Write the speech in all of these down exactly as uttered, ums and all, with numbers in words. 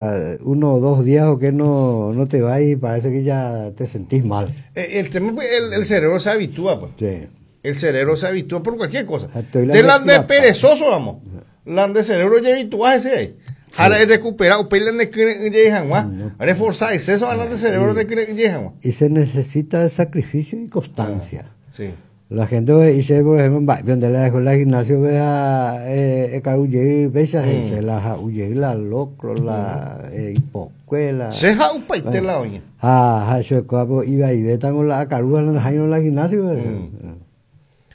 Uno o dos días o que no, no te va y parece que ya te sentís mal. Eh, el tema, pues, el, el cerebro se habitúa, pues. Sí. El cerebro se habitúa por cualquier cosa. Estoy la De la de mezcla, perezoso, vamos. La de cerebro ya habitúa ese ahí. Jala recupera, o pele de reforzar exceso a la de cerebro de que Y se necesita de sacrificio y constancia. Sí. La gente dice, por ejemplo, va, donde la dejó la gimnasio, vea, eh, eh, besa, se la huye, la locro, la eh, hipocuela. Se ja upaite la oña. Ah, ja, eso es como iba y ve tan la caruja en la gimnasio. Mm.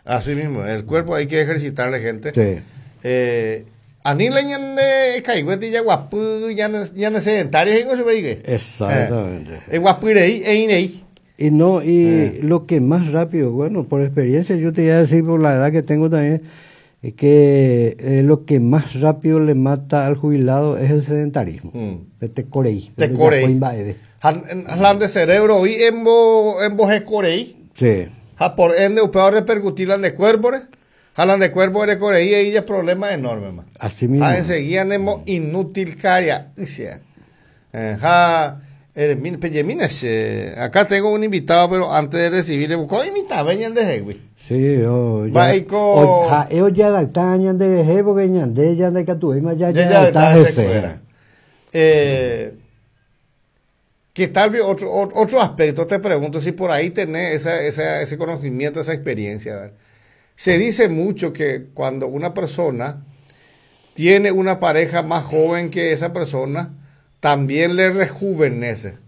Así mismo, el cuerpo hay que ejercitarle, gente. Sí. Eh, ani la ñande caigüete ya guapu, ya ya sedentario, en eso ve Exactamente. Eh, guapurei e inei. Y no, y eh. lo que más rápido, bueno, por experiencia, yo te voy a decir por la edad que tengo también, es que eh, lo que más rápido le mata al jubilado es el sedentarismo. Mm. Te corei. Te corei. Han de cerebro y en bo, en bo corei. Sí. Ja, por ende, usted va a repercutir la de cuerpo, jalan de cuerpo de corei y ahí ya problema enorme, man. Así mismo. Ja, enseguida nemo inútil caria. Eh, ja, eh, eh, acá tengo un invitado, pero antes de recibirle, buscó invitado, venían de Hegui. Sí, yo ya. O, ja, ellos ya adaptan de Hegui porque ñande ya de Catuema ya ya adaptan ese. Eh, ¿Qué tal? Otro, otro aspecto, te pregunto si por ahí tenés esa, esa, ese conocimiento, esa experiencia. ¿Verdad? Se dice mucho que cuando una persona tiene una pareja más joven que esa persona, también le rejuvenece.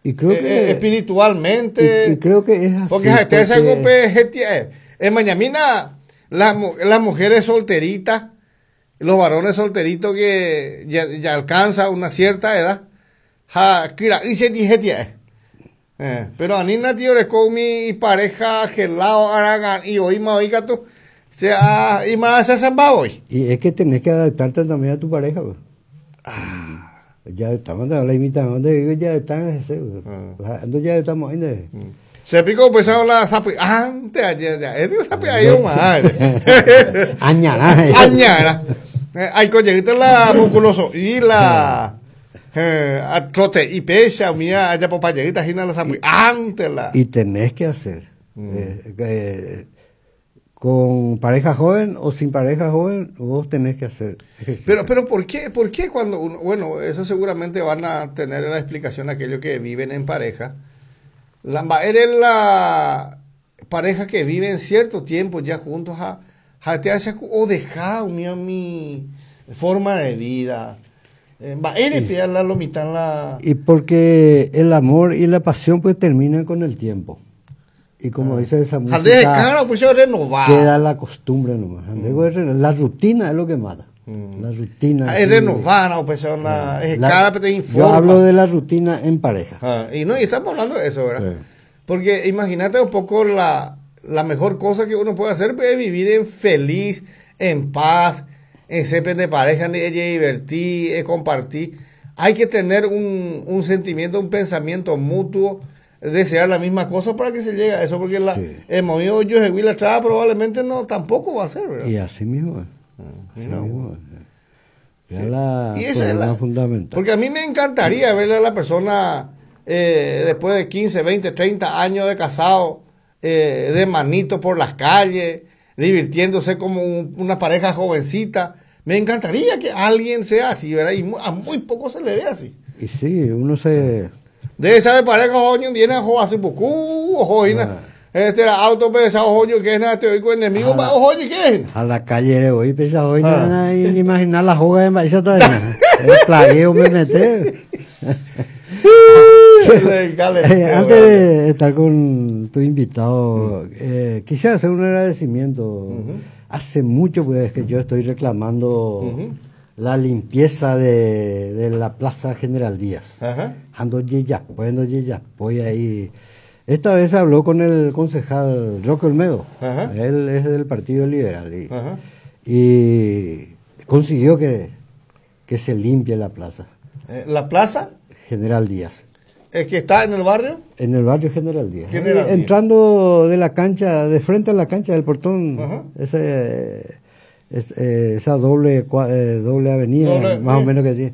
Y creo que eh, espiritualmente. Y, y, creo que es así. Porque, porque... en Mañamina, las, las mujeres solteritas, los varones solteritos que ya, ya alcanza una cierta edad, ja, kira, y se dije, eh, pero a Nina tío le con mi pareja gelado aragan y hoy más oiga tú, sea y más se hoy. Y es que tenés que adaptarte también a tu pareja, pues. Ah. Ya estamos la imitación de ya están ese, ah. Ya estamos ahí. Se picó pues la sapi antes ayer ya, es de sapi ahí un Añara. Añara. Hay coñeguita la musculoso y la eh, a trote y pesa, mía, allá por payeguita, gina la sapi antes la. Y tenés que hacer. Mm. Eh, eh, con pareja joven o sin pareja joven, vos tenés que hacer ejercicio. Pero, pero ¿por qué, por qué cuando uno, bueno, eso seguramente van a tener la explicación aquellos que viven en pareja? La, eres la pareja que vive en cierto tiempo ya juntos, ja, ja, te hace o deja mía, mi forma de vida. Eh, eres la, lo mitad la... Y porque el amor y la pasión pues terminan con el tiempo. Y como ah. dice esa música, cara, pues queda la costumbre nomás. Mm. La rutina es lo que mata. Mm. La rutina. Ah, es renovar, no, pues, la, es cara, te informa. Yo hablo de la rutina en pareja. Ah, y no, y estamos hablando de eso, ¿verdad? Sí. Porque imagínate un poco la, la mejor cosa que uno puede hacer es vivir en feliz, en paz, en ser de pareja, en divertir, en compartir. Hay que tener un, un sentimiento, un pensamiento mutuo, desear la misma cosa para que se llegue a eso, porque la, sí. el movimiento yo la traba probablemente no tampoco va a ser, ¿verdad? Y así mismo, así no. mismo. Ya sí. la y esa es la fundamental. Porque a mí me encantaría verle a la persona eh, después de quince, veinte, treinta años de casado, eh, de manito por las calles, divirtiéndose como un, una pareja jovencita. Me encantaría que alguien sea así, ¿verdad? Y a muy poco se le ve así. Y sí, uno se... Debe saber pareja joño tiene jo hace poco joina. Este era auto pesado joño que es nada te oigo enemigo pa joño que es. A la calle hoy pesado hoy nada ni imaginar la joga en esa el plagueo me mete. Antes de estar con tu invitado, eh, quisiera hacer un agradecimiento. Uh-huh. Hace mucho pues que yo estoy reclamando uh-huh. la limpieza de, de la Plaza General Díaz. Ajá. Ando ya, bueno, ya, voy ahí. Esta vez habló con el concejal Roque Olmedo. Ajá. Él es del Partido Liberal y, Ajá. y consiguió que, que se limpie la plaza. Eh, ¿La plaza? General Díaz. ¿Es que está en el barrio? En el barrio General Díaz. General Díaz. Entrando de la cancha, de frente a la cancha del portón, Ajá. ese... Es, eh, esa doble, eh, doble avenida, doble, más o menos que tiene.